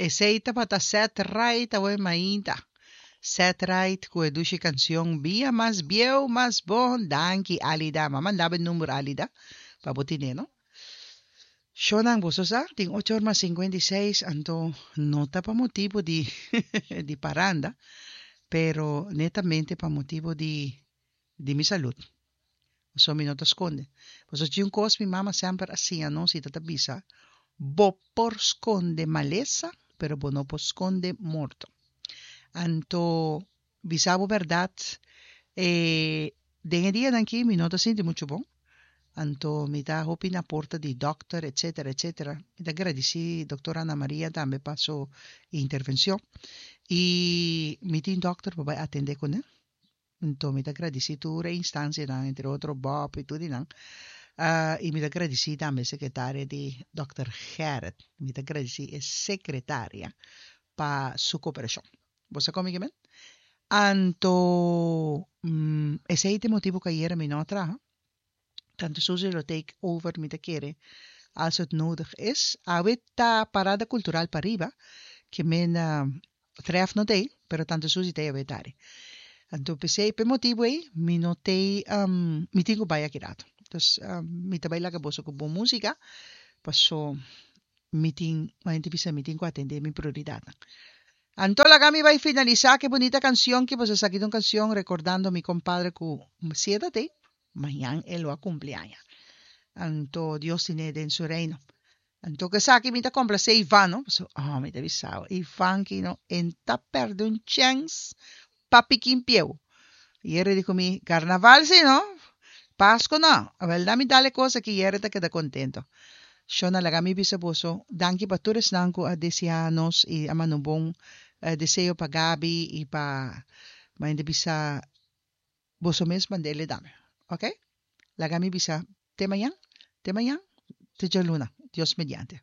Esey tabata Set Right awe mainta. Set Right cu e dushi cancion Bia mas bieu mas bon. Danki Alida. M'a manda bo e number Alida pa bo tine no. Shownan boso sa tin ocho or mas 56 anto no ta pa motibo di di paranda pero netamente pa motibo di di mi salud. Pasobra mi no ta skonde. Pasobra tin un kos mi mama semper a siña nos i ta ta bisa, Bo por skonde malesa, pero bo no por skonde morto. Anto, bisa bo bèrdat, e den e dianan aki mi no ta sinti muchu bon. Anto mi ta hopi na porta di dòkter, etsetera, etsetera. Mi ta gradisí dòkter Ana Maria tambe pa su intervenshon. I mi tin dòkter pa bai atendé kuné. Anto mi ta gradisí tur e instancianan, entre otro Bob i tur di nan. I mi ta gradisí tambe sekretaria di dòkter Gerrit. Mi ta gradisí e sekretaria pa su koperashon. Bo sa kon mi ke men? Anto esei ta e motibu ku ayera mi no a traha. Tante Susie lo take over mi ta kere als het nodig is. Awe ta parada cultural pariba ke men tref no t'ei pero Tante Susie t'ei awe tari. Anto p'esei p'e motibu ei mi no t'ei mi tin ku bai aki rato. Dus mi ta bai laga boso ku bon musica paso mi tin manera bisa mi tin ku atende mi prioridadnan. Anto laga mi bai finalisá ku e bunita kansion ki boso sa ki ta un kansion rekordando mi kompadre ku si e ta tei, mañan e lo a kumpli aña. Anto Dios tin'é den su reino. Anto ku esaki mi ta komplasé Ivan no, pasobra oh mi ta bisa bo Ivan ki no e ta pèrdè un chèns pa pikin pieu. Yere di ku mi, karnaval si no, Pasko no. Awel na mi dal e kos aki Yere ta keda kontento. Shona laga mi bisa boso danki pa tur esnan ku a deseá nos i a manda un bon deseo pa Gaby i pa Mainda bisa boso mes mand'e dame ok. Laga mi bisa te mañan te mañan te djaluna Dios mediante.